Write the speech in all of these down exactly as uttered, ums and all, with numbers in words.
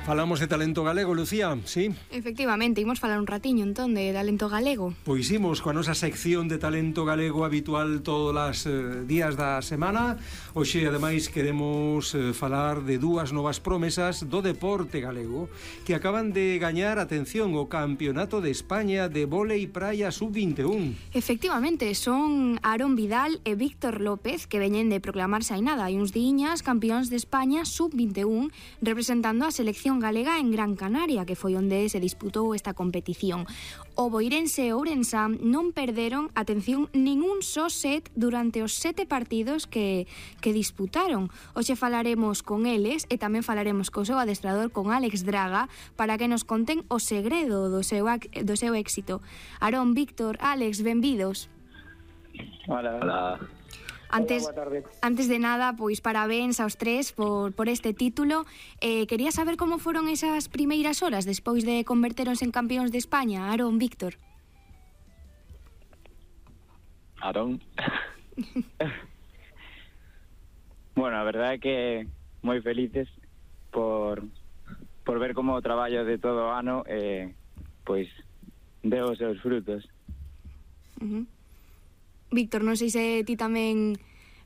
Falamos de talento galego, Lucía, sí? Efectivamente, imos falar un ratiño entón de talento galego. Pois imos coa nosa sección de talento galego habitual todos os eh, días da semana. Hoxe, ademais, queremos eh, falar de dúas novas promesas do deporte galego que acaban de gañar, atención, o Campeonato de España de Vólei Praia sub vinte e un. Efectivamente, son Aarón Vidal e Víctor López, que veñen de proclamarse hai nada, hai uns diñas campións de España sub vinte e un, representando a selección galega en Gran Canaria, que foi onde se disputou esta competición. O boirense e Ourensán non perderon, atención, ningún só set durante os sete partidos que, que disputaron. Hoxe falaremos con eles e tamén falaremos co seu adestrador, con Álex Draga, para que nos conten o segredo do seu, do seu éxito. Aarón, Víctor, Álex, benvidos. Hola, hola. Antes, Hola, boa tarde. antes de nada, pois parabéns aos tres por, por este título. Eh, quería saber como foron esas primeiras horas despois de converteronse en campións de España. Aarón, Víctor. Aarón. Bueno, a verdade é que moi felices por, por ver como o traballo de todo o ano eh, pois deu os seus frutos. Uh-huh. Víctor, non sei se ti tamén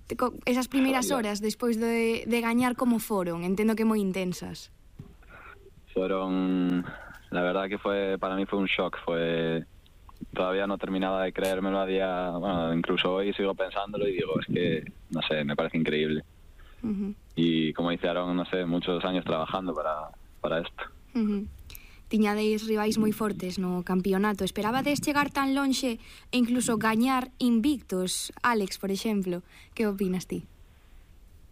te, esas primeiras horas despois de, de gañar como foron, entendo que moi intensas. Fueron, la verdad que fue, para mí fue un shock, fue, todavía no terminaba de creérmelo a día, bueno, incluso hoy sigo pensándolo y digo, es que, no sé, me parece increíble. Uh-huh. Y como dice Aarón, no sé, muchos años trabajando para, para esto. Uh-huh. Tiñades rivais moi fortes no campeonato. Esperabades chegar tan lonxe e incluso gañar invictos? Álex, por exemplo, que opinas ti?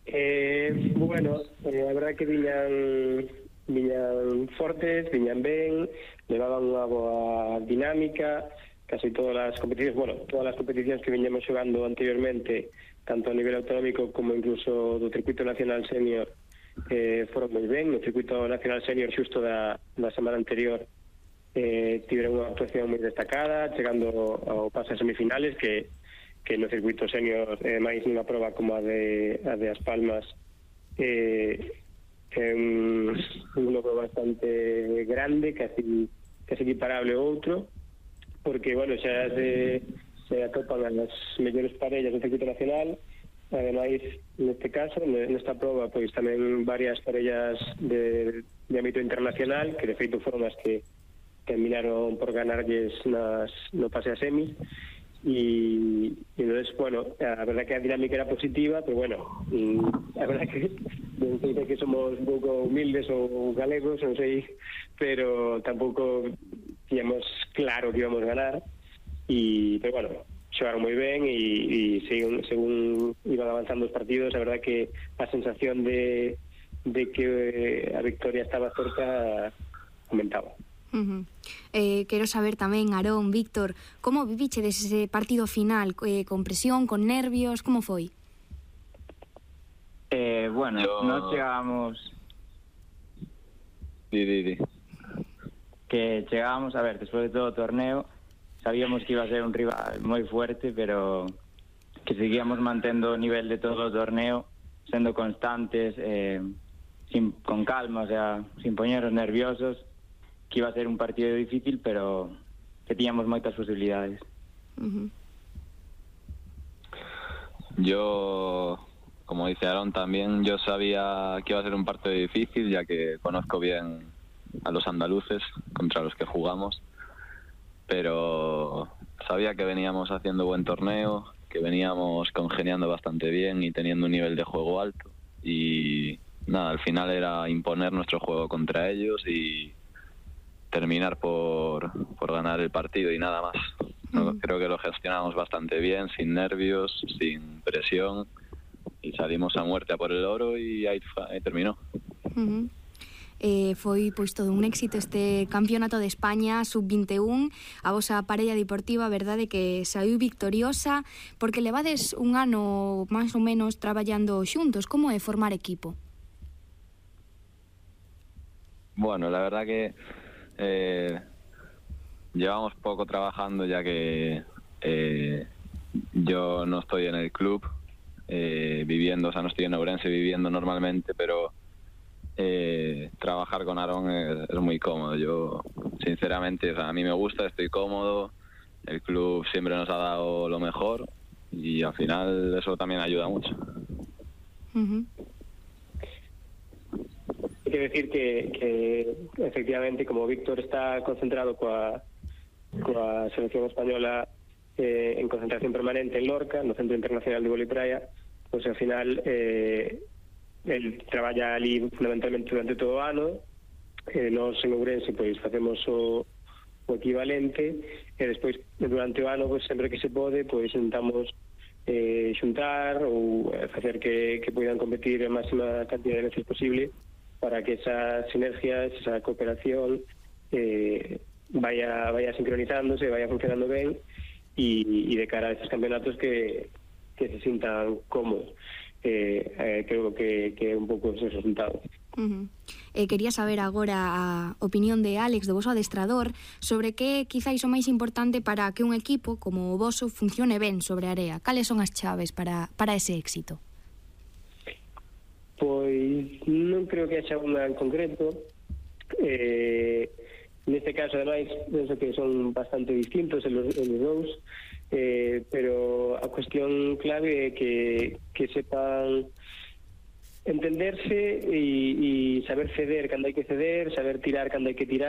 Eh, bueno, eh, a verdade que viñan viñan fortes, viñan ben, levaban unha boa dinámica, casi todas as competicións, bueno, todas as competicións que viñamos xogando anteriormente, tanto a nivel autonómico como incluso do circuito nacional senior, eh, foron moi ben. No circuito nacional senior xusto da, da semana anterior eh, tiveron unha actuación moi destacada, chegando ao paso a semifinales, que, que no circuito senior eh, máis nunha proba como a de, a de As Palmas eh, é un, un logro bastante grande, casi, casi equiparable ao outro, porque, bueno, xa se, se atopan as mellores parellas do circuito nacional. Ademais, neste caso, nesta proba, pois tamén varias parellas de, de ámbito internacional, que de feito foron as que terminaron por ganarlles nas, no pase a semis, e, e entonces, bueno, a verdad que a dinámica era positiva, pero bueno, a verdad que non sei que somos un pouco humildes ou galegos, non sei, pero tampouco tíamos claro que íbamos a ganar, e, pero bueno, xogaron moi ben e, e según, según iban avanzando os partidos, a verdad que a sensación de, de que a victoria estaba cerca aumentaba. Uh-huh. eh, Quero saber tamén, Aarón, Víctor, como viviche dese partido final, eh, con presión, con nervios, como foi? Eh, bueno, Yo... nos chegábamos Di, di, di. que chegábamos, a ver, despois de todo o torneo sabíamos que iba a ser un rival moi fuerte, pero que seguíamos mantendo o nivel de todo o torneo, sendo constantes, eh, sin, con calma, o sea, sin poñeros nerviosos, que iba a ser un partido difícil, pero que tiñamos moitas posibilidades. Uh-huh. Yo, como dice Aarón también, yo sabía que iba a ser un partido difícil, ya que conozco bien a los andaluces contra los que jugamos, pero sabía que veníamos haciendo buen torneo, que veníamos congeniando bastante bien y teniendo un nivel de juego alto, y nada, al final era imponer nuestro juego contra ellos y terminar por, por ganar el partido y nada más. No, creo que lo gestionamos bastante bien, sin nervios, sin presión, y salimos a muerte a por el oro y ahí, ahí terminó. Uh-huh. Eh, foi pois todo un éxito este campeonato de España sub vinte e un. A vosa parella deportiva, a verdade que saiu victoriosa, porque levades un ano máis ou menos traballando xuntos. Como é formar equipo? Bueno, la verdad que eh, llevamos poco trabajando, ya que eh, yo no estoy en el club eh, viviendo, o sea, no estoy en Ourense viviendo normalmente, pero eh, trabajando trabajar con Aarón es, es muy cómodo. Yo, sinceramente, o sea, a mí me gusta, estoy cómodo, el club siempre nos ha dado lo mejor y al final eso también ayuda mucho. Uh-huh. Hay que decir que, que efectivamente, como Víctor está concentrado coa, coa selección española eh, en concentración permanente en Lorca, no Centro Internacional de Vóley Praia, pois ao final eh, el traballa ali fundamentalmente durante todo o ano. Eh, nós en Ourense pois facemos o, o equivalente e despois durante o ano pois sempre que se pode pois intentamos eh, xuntar ou facer que, que poidan competir a máxima cantidad de veces posible para que esas sinergias, esa cooperación eh, vaya, vaya sincronizándose, vaya funcionando ben e, e de cara a estos campeonatos que, que se sintan cómodos. Eh, eh, creo que, que é un pouco ese resultado. Uh-huh. Eh, quería saber agora a opinión de Álex, do voso adestrador, sobre que quizáis o máis importante para que un equipo como o voso funcione ben sobre a area. Cales son as chaves para, para ese éxito? Pois non creo que haxa unha en concreto. Eh, neste caso, ademais, penso que son bastante distintos en los, en los dous, eh, pero a cuestión clave é que, que sepan entenderse e, e saber ceder cando hai que ceder, saber tirar cando hai que tirar,